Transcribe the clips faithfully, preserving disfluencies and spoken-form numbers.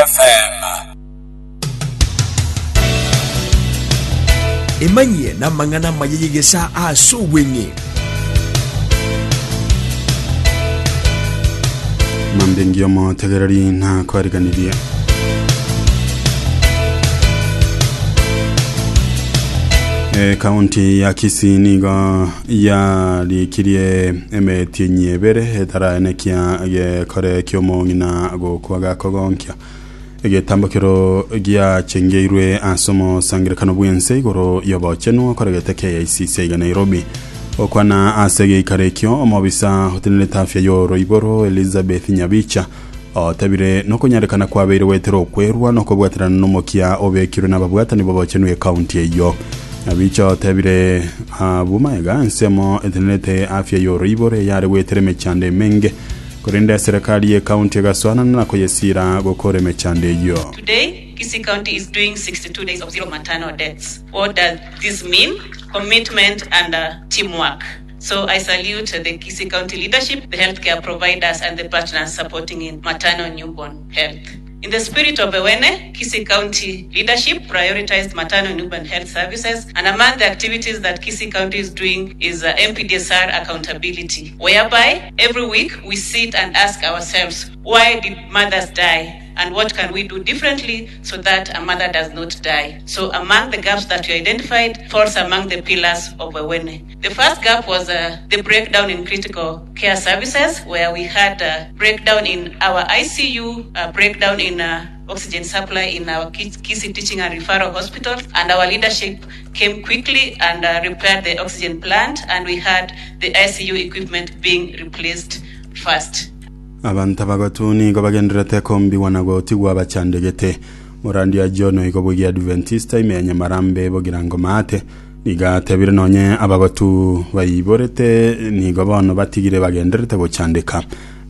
F M. Emanyie n'amang'ana mayeyegesa ase obweng'e. Mambingi omotegereri na kwariganirie. E, kaunti ya Kisii nigo yarikirie emeti nyebere etaraenekia gekore kiomong'ina gokwa gakogonkia egetambokero giachengeirwe ase omosangerekano bwense igoro yobochenwa koregete K I C C iga Nairobi. Okwana ase geikaro ekio omobisa otenenete afya yoroiboro Elizabeth Nyabicha otebire nokonyarekana kwabeire gwetera okwerwa nokobwaterana nomokia obekirwe n'ababwatani bobochenwa ekaunti eyo. Nyabicha otebire abumaega ensemo etenenete afya yoroiboro yare gwetera emechando emenge korenda serikali ye county gaswana na koyesira gokora emechando eyo. Today, Kisii County is doing sixty-two days of zero maternal deaths. What does this mean? Commitment and uh, teamwork. So I salute the Kisii County leadership, the healthcare providers and the partners supporting in maternal newborn health. In the spirit of Ewene, Kisii County leadership prioritized maternal newborn health services, and among the activities that Kisii County is doing is uh, M P D S R accountability, whereby every week we sit and ask ourselves, why did mothers die? And what can we do differently so that a mother does not die? So among the gaps that we identified falls among the pillars of Ewene. The first gap was uh, the breakdown in critical care services, where we had a breakdown in our I C U, a breakdown in uh, oxygen supply in our Kisii Teaching and Referral Hospitals, and our leadership came quickly and uh, repaired the oxygen plant, and we had the I C U equipment being replaced first. Abantu bagatu nigo bagenderete kombiwa na gotigwa bachandegete Morandia John igo bwegi Adventista imenya marambe bogirango mate niga tebire nonye abagatu bayiborete nigo bono batigire bagenderete gochandeka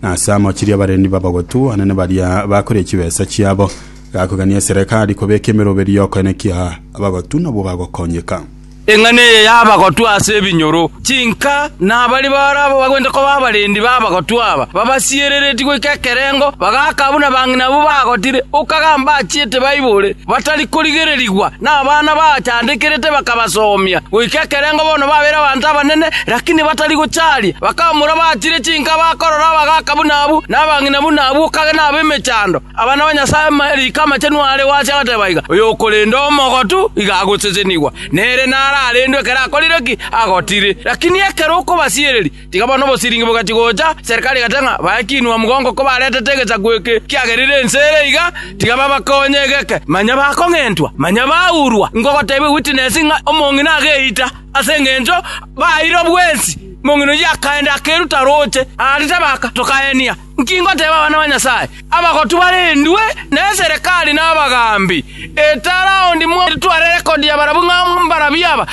na samo chiria barendi babagotu anene baria bakore chibesa chiabo gakogania serikali kobeka emeroberi yokoenekia abagatu nabo bagokonyeka. Eng'ane yabagotu ase ebinyoro chinka nabari barabo bagwende ko babarendi babagotu aba babasierereti goika ekerengo bagakabuna bang'ina bo bagotire okagamba achiete baibore batari korigererigwa n'abana bachandekerete bakabasomia goika ekerengo bono babera abantu abanene lakini batari gochari bakamura bachire chinka bakorora bagakabuna abu n'abang'ina buna abu okage nabe emechando abana ba Nyasaye marika amachenu are wacha gatebaiga oyo okorenda omogotu igagoseseniwa nere na arendwe kera akorireki agotire lakini ekero okobasiereri tigabona obosiringi bogachigocha serikali gatanga bakinwa mugongo ko baretete egechaku kiagerire ensere iga tigaba bakonye egeke manya bakong'entwa manya baurwa ngogotebe witness ng'a omong'ina ageita ase eng'encho baire bwensi mong'ino yakaenda akeruta roche aritabaka tokaenia nkingo teba abana ba Nyasaye abagotu barendwe ne serikali n'abagambi etaraundi tware rekodi ya barabu ng'ambarabiaba.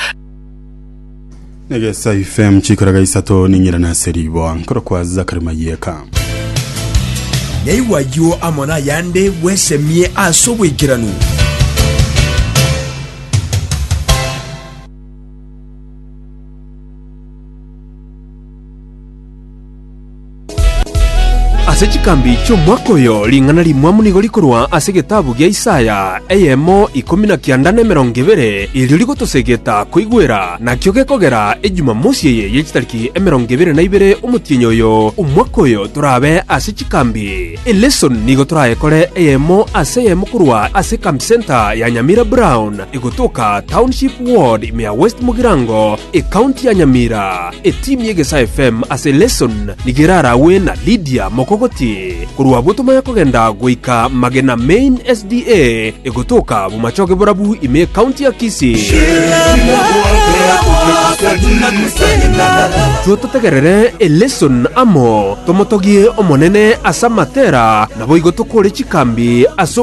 Negesa F M chikoraga isato ninyira na seribo nkoro kwa Zakari Mayeka. Nyaiwayo amona yande wesemie asobwekiranu. Ase chikambi chi'omwaka oyo ring'ana rimwamu nigo rikorwa ase getabu gia Isaya eyemo ikomi na kianda na emerongo ebere erio rigotosegeta koigwera nakio gekogera ejumamosi eye yechitariki emerongo ebere na ibere omotienyi oyo omwaka oyo torabe ase chikambi eleson nigo torayekore eyemo ase eyemo korwa ase camp center ya Nyamira Brown egotoka Township Ward ime ya West Mugirango ekaunti ya Nyamira. Etimu y'Egesa F M ase lesson nigerarawe na Lydia Mokogoti korwa botomanya kogenda goika Magena Main S D A egotoka bomachoge borabu ime county ya Kisii. Tutotegerere eleson amo tomotogie omonene ase amatera nabo igo tokore chikambi ase